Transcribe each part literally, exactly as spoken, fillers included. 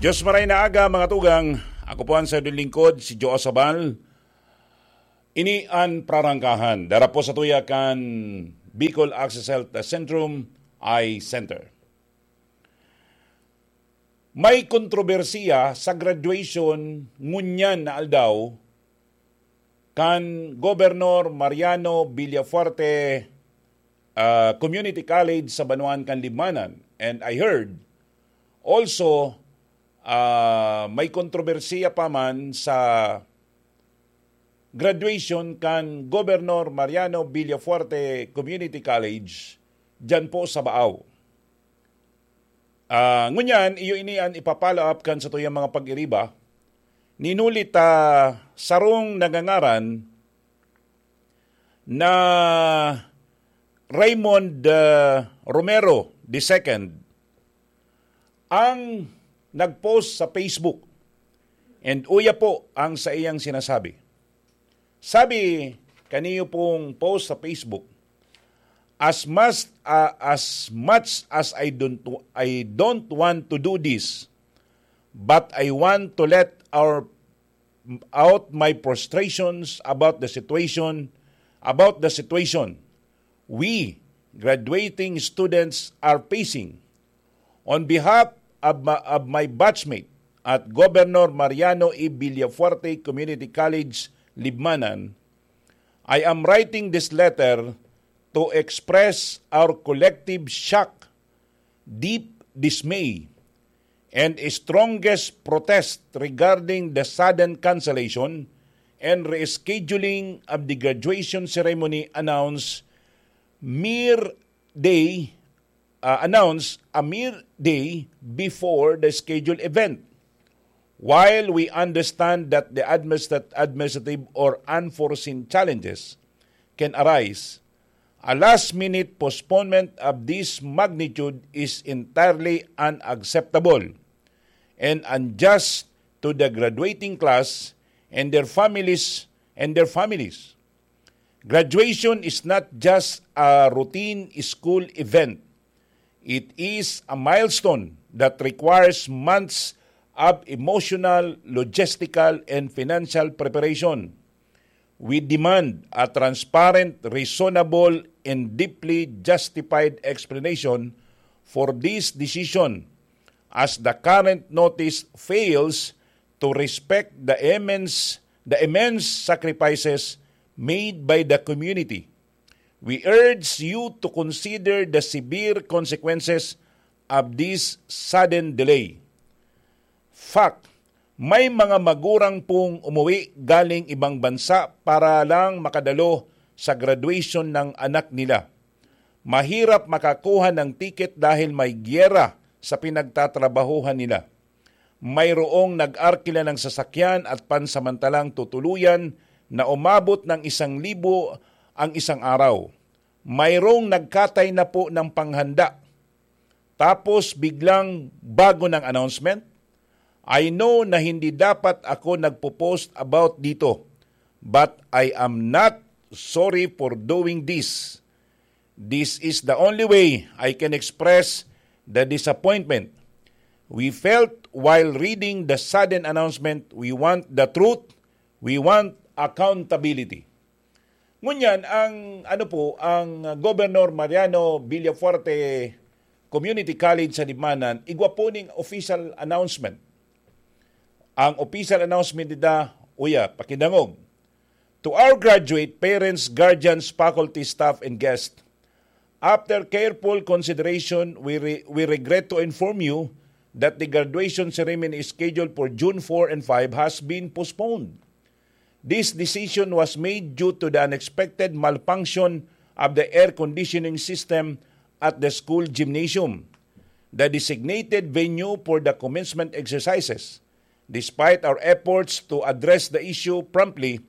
Diyos maray na aga, mga tugang. Ako po ang sadyang lingkod, si Joe Sabal. Ini an prarangkahan. Dara po sa tuya kan Bicol Access Health Centrum Eye Center. May kontrobersiya sa graduation ngunyan na aldaw kan Gobernador Mariano Villafuerte, ah, Community College sa banwaan kan Libmanan. And I heard also, ah, may kontrobersiya pa man sa graduation kan Gobernador Mariano Villafuerte Community College diyan po sa Baao. Ah, ngunyan, iyo ini an ipa-follow up kan satuyang mga pag-iriba. Ninuli ta sarong nagangaran na Raymond, ah, Romero the second ang nag-post sa Facebook. And uya po ang saiyang sinasabi. Sabi kaniyo pong post sa Facebook, "As much, ah, as much as I don't, I don't want to do this, but I want to let our, out my frustrations about the situation, about the situation we graduating students are facing. On behalf of my, of my batchmate at Governor Mariano E. Villafuerte Community College, Libmanan, I am writing this letter to express our collective shock, deep dismay, and strongest protest regarding the sudden cancellation and rescheduling of the graduation ceremony announced mere day, uh, announced a mere day before the scheduled event. While we understand that the administrat-, administrative or unforeseen challenges can arise, a last-minute postponement of this magnitude is entirely unacceptable and unjust to the graduating class and their families, and their families. Graduation is not just a routine school event. It is a milestone that requires months of emotional, logistical, and financial preparation. We demand a transparent, reasonable, and deeply justified explanation for this decision, as the current notice fails to respect the immense, the immense sacrifices made by the community. We urge you to consider the severe consequences of this sudden delay." Fact, may mga magurang pong umuwi galing ibang bansa para lang makadalo sa graduation ng anak nila. Mahirap makakuha ng tiket dahil may giyera sa pinagtatrabahuhan nila. Mayroong nag-arkila ng sasakyan at pansamantalang tutuluyan na umabot ng isang libo ang isang araw. Mayroong nagkatay na po ng panghanda. Tapos biglang bago ng announcement, I know na hindi dapat ako nagpo-post about dito, but I am not sorry for doing this. This is the only way I can express the disappointment we felt while reading the sudden announcement. We want the truth. We want accountability. Ngunyan, ang, ano po, ang Governor Mariano Villafuerte Community College sa Libmanan, igwa po ning official announcement. Ang official announcement nila, uya, pakidangog. To our graduate, parents, guardians, faculty, staff, and guests, after careful consideration, we, re-, we regret to inform you that the graduation ceremony scheduled for June four and five has been postponed. This decision was made due to the unexpected malfunction of the air conditioning system at the school gymnasium, the designated venue for the commencement exercises. Despite our efforts to address the issue promptly,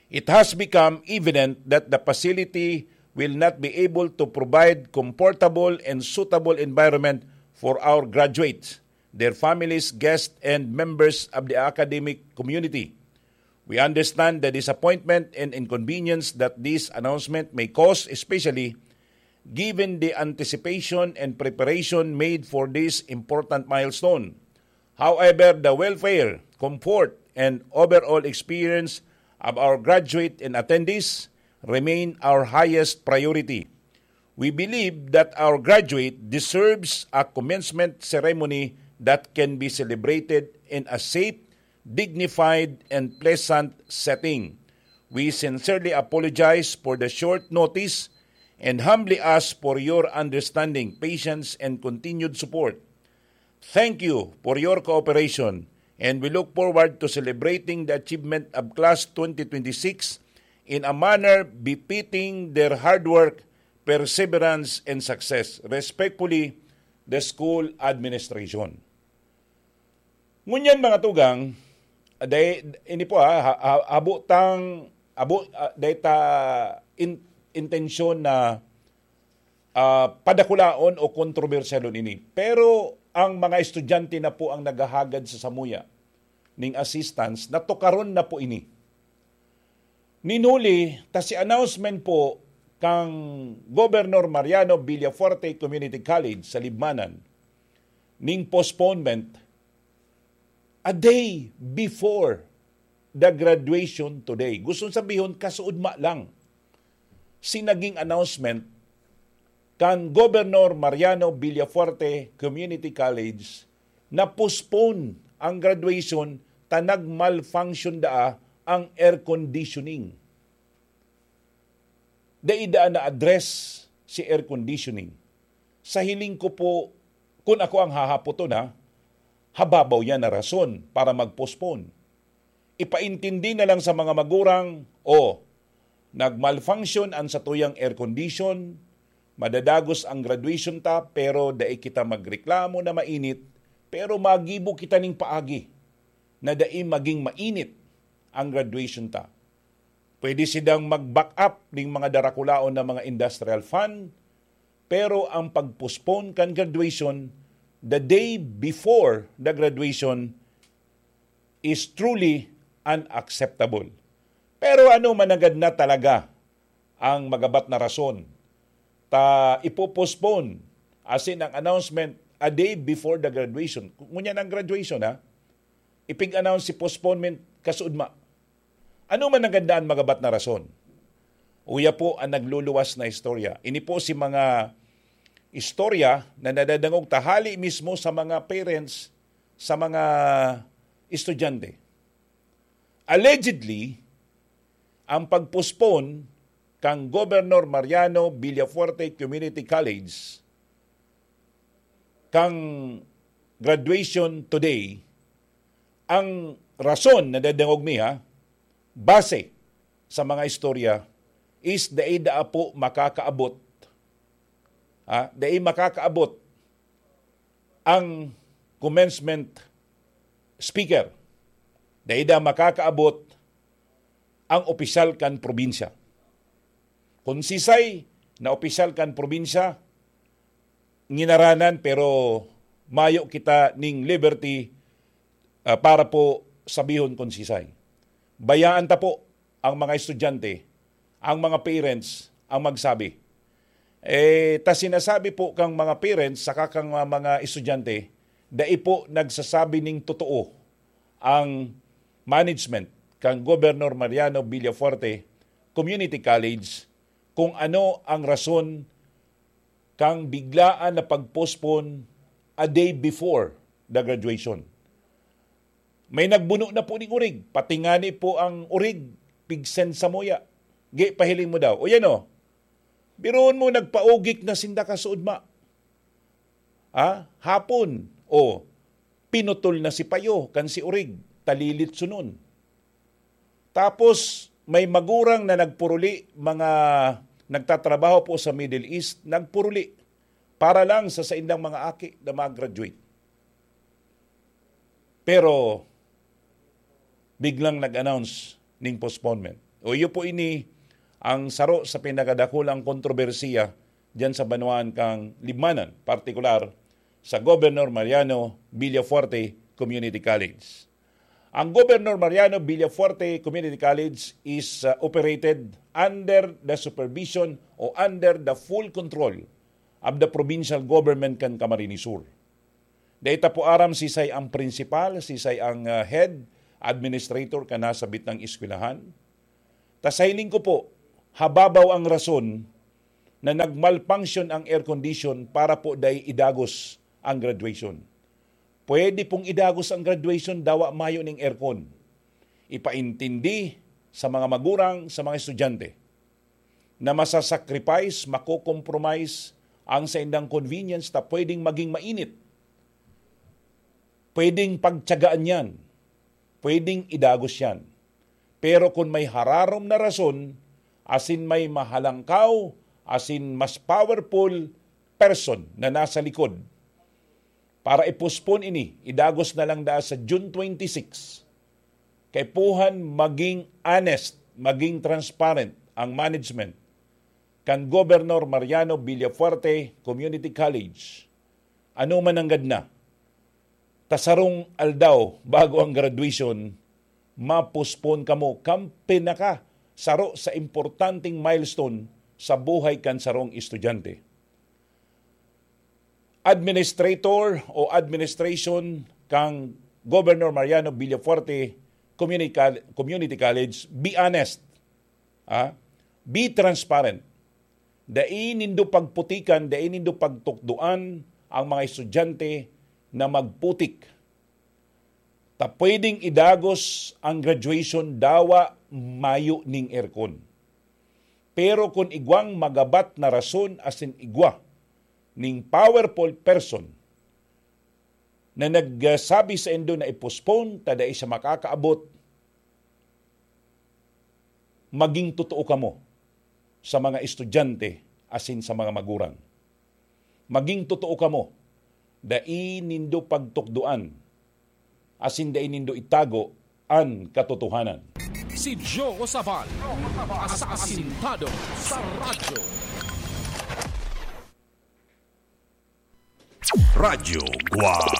it has become evident that the facility will not be able to provide comfortable and suitable environment for our graduates, their families, guests, and members of the academic community. We understand the disappointment and inconvenience that this announcement may cause, especially given the anticipation and preparation made for this important milestone. However, the welfare, comfort, and overall experience of our graduate and attendees remain our highest priority. We believe that our graduate deserves a commencement ceremony that can be celebrated in a safe, dignified, and pleasant setting. We sincerely apologize for the short notice and humbly ask for your understanding, patience, and continued support. Thank you for your cooperation, and we look forward to celebrating the achievement of Class twenty twenty-six in a manner befitting their hard work, perseverance, and success. Respectfully, the school administration. Ngunyan, mga tugang, day, ini po, ha, ha, ha, habo tang, habo, ah, day ta in-, intensyon na, ah, padakulaon o kontrobersyalon ini. Pero ang mga estudyante na po ang naghahagad sa samuya ning assistance, natukaron na po ini. Nin huli ta si announcement po kan Governor Mariano Villafuerte Community College sa Libmanan ning postponement a day before the graduation today. Gustong sabihon, kasuodma lang si naging announcement kan Governor Mariano Villafuerte Community College na postpone ang graduation ta nag-malfunction daa ang air conditioning. Dai daa na-address si air conditioning. Sa hiling ko po, kun ako ang hahapoton, ha, hababaw yan na rason para mag-postpone. Ipaintindi na lang sa mga magurang, "O, nag-malfunction an satuyang air condition, madadagos ang graduation ta, pero dai kita magreklamo na mainit, pero magibo kita ning paagi na dai maging mainit ang graduation ta." Pwede sidang mag-back up ning mga darakulaon na mga industrial fan, pero ang pag-postpone kan graduation the day before the graduation is truly unacceptable. Pero ano managad na talaga ang magabat na rason ta ipo-postpone asin ang announcement a day before the graduation? Ngunyan ang graduation, ha? Ipig-announce si postponement kasuodma. Ano man ang gandaan magabat na rason? Uya po ang nagluluwas na istorya. Ini po si mga istorya na nadadangog tahali mismo sa mga parents, sa mga estudyante. Allegedly, ang pag-postpone kan Governor Mariano Villafuerte Community College kan graduation today, ang rason na dadangog mi, ha, base sa mga istorya, is dai daa po makakaabot, ha, dai makakaabot ang commencement speaker. Dai daa makakaabot ang opisyal kan probinsya. Kun sisay na opisyal kan probinsya, nginaranan, pero mayo kita ning liberty, ah, para po sabihon kun sisay. Bayaan ta po ang mga estudyante, ang mga parents, ang magsabi. Eh, ta sinasabi po kang mga parents saka kang mga, mga estudyante, dai po nagsasabi ning totoo ang management kan Governor Mariano Villafuerte Community College kung ano ang rason kang biglaan na pag-postpone a day before the graduation. May nagbuno na po ning orig, pati ngani po ang orig, pigsen samuya. Gi, pahiling mo daw. O yan o, biruon mo, nagpaugik na sinda kasuodma. Ha? Hapon, o, pinutol na si payo kan si orig, talilit sunon. Tapos, may magurang na nagpuruli, mga nagtatrabaho po sa Middle East, nagpuruli para lang sa saindang mga aki na mag-graduate. Pero, biglang nag-announce ning postponement. O, iyo po ini ang saro sa pinakadakulang kontrobersiya diyan sa banwaan kang Libmanan, partikular sa Governor Mariano Villafuerte Community College. Ang Governor Mariano Villafuerte Community College is, uh, operated under the supervision o under the full control of the provincial government kan Camarines Sur. Dai ta po aram sisay ang principal, sisay ang, ah, head administrator kan nasabit na eskwelahan. Ta sa hiling ko po, hababaw ang rason na nag-malfunction ang air condition para po dai idagos ang graduation. Pwede pong idagos ang graduation, dawa mayo ning aircon. Ipaintindi sa mga magurang, sa mga estudyante, na masasacrifice, mako-compromise ang saindang convenience ta pwedeng maging mainit, pwedeng pagtiyagaan yan, pwedeng idagos yan. Pero kun may hararom na rason, asin may mahalangkaw, asin mas powerful person na nasa likod, para i-postpone ini, idagos na lang daa sa June twenty-six. Kaipuhan maging honest, maging transparent ang management kan Governor Mariano Villafuerte Community College. Ano man nanggad na, ta sarong aldaw bago ang graduation, ma-postpone kamo kan pinaka saro sa importanteng milestone sa buhay kan sarong estudyante. Administrator o administration kang Governor Mariano Villafuerte Communica-, Community College, be honest. Ah, be transparent. Dai nindo pagputikan, dai nindo pagtukdoan ang mga estudyante na magputik. Ta pwedeng idagos ang graduation dawa mayo ning aircon. Pero kun igwang magabat na rason asin igwa ning powerful person na nagsabi saindo na i-postpone ta dai siya makakaabot, maging totoo kamo sa mga estudyante asin sa mga magurang. Maging totoo kamo, dai nindo pagtukdoan asin dai nindo itago an katotohanan. Si Joe Sabal, asasintado sa radyo. Radyo Guwang.